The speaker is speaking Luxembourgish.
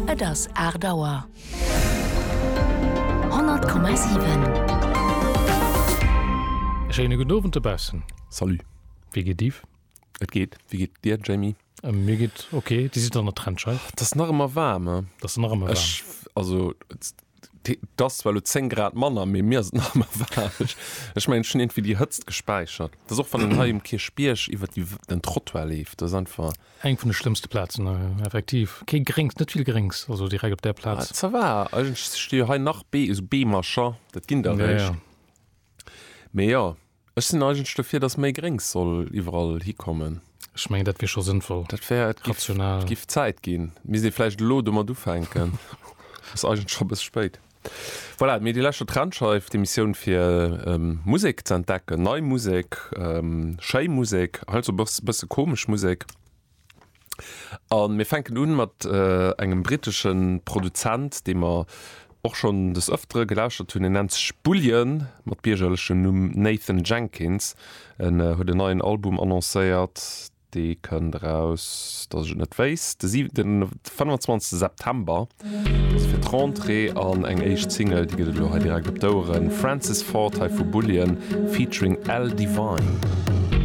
Et ass 8 Auer. 100,7. E schéine gudden Owend dobaussen. Salut. Wéi geet Yves? Et geet. Wéi geet dir, Jamie? Mir geet ok. Dir sidd an der Trennscheif. Et ass nach ëmmer waarm, he? Et ass nach ëmmer waarm. Ech, also, et ass zwar elo 10 Grad manner, mee mir ass et nach ëmmer waarm. Ech, ech mengen, ech hunn iergendwéi déi Hëtzt gespäichert. Et ass och, wann een hei um Kierchbierg iwwer déi, den Trottoir leeft, dat ass einfach. Eng vun de schlëmmste Plazen, effektiv. Kee Gréngs, net vill Gréngs, also direkt op där Plaz. Ça va, eigentlech sti jo hei nach Bee, esou Beemercher, dat ginn der eréischt. Mee jo, ech sinn eigentlech dofir, datt méi Gréngs soll iwwerall hikommen. Ech mengen, dat wier scho sënnvoll. Dat wär, et giff, Rational. et giff Zäit ginn. Misst ee vläicht elo domat ufänken. Ass eigentlech scho e bësse spéit. Voilà, mee Dir lauschtert Trendscheif, d'Emissioun fir Musek ze entdecken, nei Musek, schéi Musek, heiansdo e bësse komesch Musek. A mir fänken un mat engem brittesche Produzent, dee mer och schonn des Ëftere gelauschtert hunn. En nennt sech Bullion, mat biergerlechem Numm Nathan Jenkins. En huet en neien Album annoncéiert. Dee kënnt eraus, datt ech et net wéisst, de 25 September, also fir d'Rentrée. An eng éischt Single, déi gëtt et elo hei direkt op d'Oueren, Francis Ford hei vu Bullion featuring L Devine.